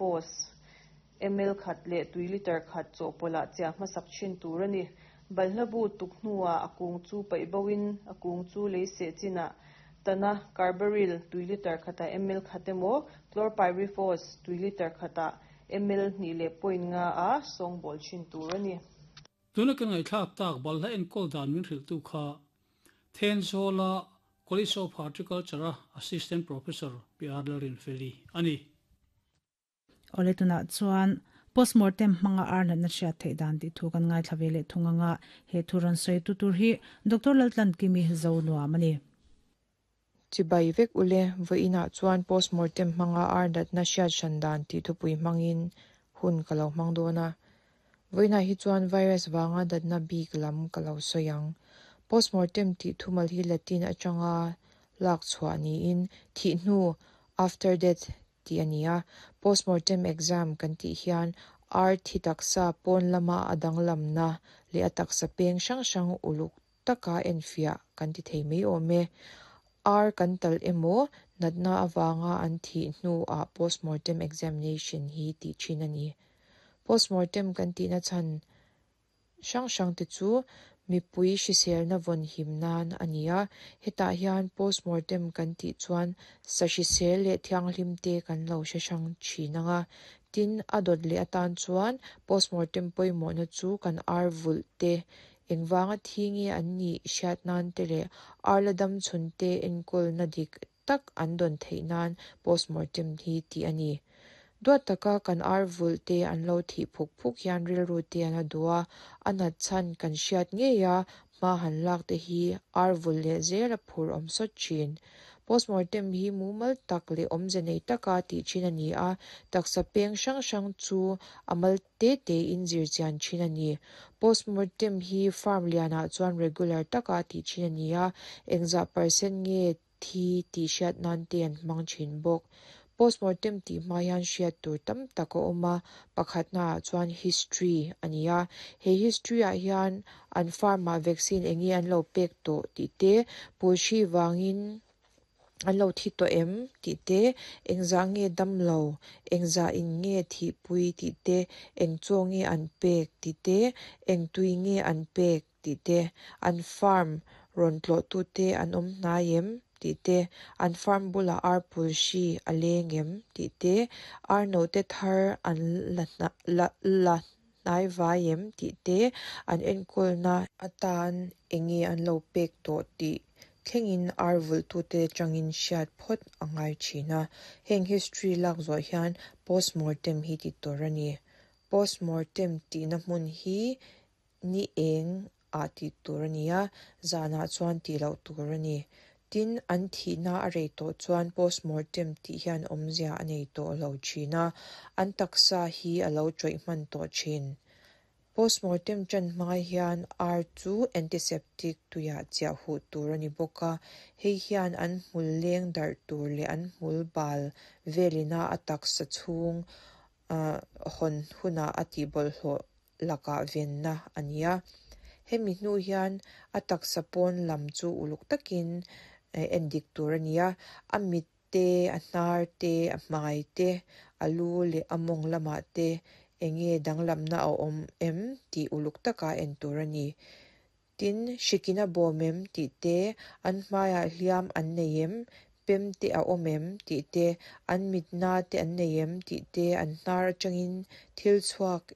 Chlorpyrifos ml khat leh tui litre khat chawhpawlh ah chiah hmasak thin tur a ni. Balhla bu tuk hnuah a kung chu paih bo in a kung chu lei seh chinah tana Carbaryl tui litre khatah ml khat emaw Chlorpyrifos tui litre khatah ml hnih leh point nga a sawngbawl thin tur a ni. Tuna kan ngaihthlak tak balhla enkawl dan min hrilhtu kha Thenzawla College of Horticulture-a Assistant Professor Pi Arlarin Feli a ni. Awle tunah chuan postmortem hmanga ar natna hriat theih dan tih thu kan ngaithla ve leh thung anga he thu rawn sawi tu tur hi Doctor Laltlankimi zo nuam a ni. Chibai vek ule, vawiinah chuan postmortem hmanga ar natna hriat hran dan tih thupui hmangin hun ka lo hmang dawn a. Vawiinah hi chuan virus vanga natna bik lam ka lo sawi ang. Postmortem tih thumal hi Latin atanga lak chhuah niin thih hnu, after death, tih a ni a. Postmortem exam kan tih hian ar thi taksa pawn lama a danglamna leh a taksa peng hrang hrang uluk taka enfiah kan ti thei mai awm e. Ar kan talh emaw, natna avanga an thih hnuah postmortem examination hi tih thin a ni. Postmortem kan tihna chhan hrang hrang te chu mipui hriselna vawn him nan a ni a, hetah hian postmortem kan tih chuan sa hrisel leh thianghlim te kan lo hre hrang thin ang a. Tin, a dawt leh atan chuan postmortem pawimawhna chu kan ar vulh te Engvanga thi nge an nih hriat nan te leh ar la dam chhun te enkawlna dik tak an dawn theih nan postmortem hi tih a ni. Duat taka kan ar vulh te an lo thih phuk phuk hian rilru te an a duh a, a nat chhan kan hriat ngei a, hma han lak te hi ar vulh leh zel a phur awm sawt thin. Postmortem hi mumal tak leh awmze nei taka tih thin a ni a, taksa peng hrang hrang chu a mal te tein zir chian thin a ni. Postmortem hi farm lianah chuan regular taka tih thin a ni a, engzah percent nge thi tih hriat nan te an hmang thin bawk. Postmortem tih hma hian hriat tur tam tak a awm a, pakhatnaah chuan history a ni a, he history ah hian an farm ah vaccine enge an lo pek tawh tih te, pulhri vangin an lo thi tawh em tih te, engzah nge dam lo, engzah in nge thihpui tih te, eng chaw nge an pek tih te, eng tui nge an pek tih te, an farm rawn tlawh tu te an awm hnai em tih te, an farm bulah ar pul hri a leng em tih te, ar note thar an la la la hnai vai em tih te, an enkawlna atan enge an lo pek tawh tih thlengin ar vulhtute atangin hriat phawt a ngai thin a. Heng history lak zawh hian postmortem hi ti tur a ni. Postmortem tihna hmun hi ni eng ah tih tur a ni a, zanah chuan tih loh tur a ni. Tin, an thihna a rei tawh chuan postmortem tih hian awmzia a nei tawh lo thin a, an taksa hi a lo tawih hman tawh thin. Postmortem ṭan hmai hian ar chu antiseptic tuiah chiah huh tur a ni bawk a, hei hian an hmul leng darh tur leh an hmul bal velina a taksa chhung hawn hunah a tihbawlhhlawh lakah venna a ni a. Hemi hnu hian a taksa pawn lam chu uluk takin endik tur a ni a, a mit te, a hnar te, a hmai te, a lu leh a mawng lamah te enge danglamna a awm em tih uluk taka en tur a ni. Tin, hrikin a bawm em tih te, an hmaiah hliam an nei em, pem te a awm em tih te, an mitna te an nei em tih te, an hnar atangin thil chhuak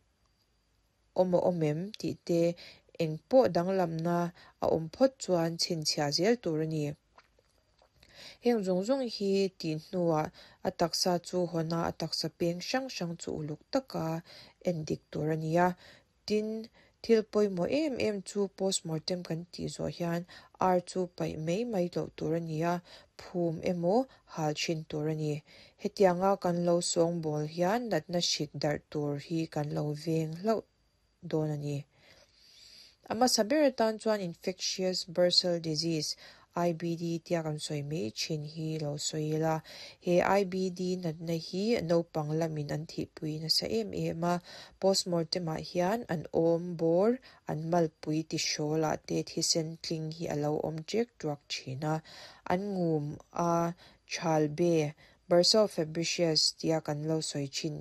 awm a awm em tih te, eng pawh danglamna a awm phawt chuan chhinchhiah zel tur a ni. Heng zawng zawng hi tih hnuah a taksa chu hawn a, a taksa peng hrang hrang chu uluk taka en dik tur a ni a. Tin, thil pawimawh em em chu postmortem kan tih zawh hian ar chu paih mai mai loh tur a ni a, phum emaw hal thin tur a ni. Hetianga kan lo sawngbawl hian natna hrik darh tur hi kan lo veng hlauh dawn a ni. A hmasa ber atan chuan Infectious Bursal Disease, IBD, tia kan sawi mai thin hi lo sawi ila. He IBD natna hi naupang lamin an thihpui nasa em em a, postmortem-ah hian an awm bawr, an malpui tihrawlah te thisen tling hi a lo awm ṭek ṭuak thin a. An ngum a, Chalbe, Bursa of Fabricius tia kan lo sawi thin.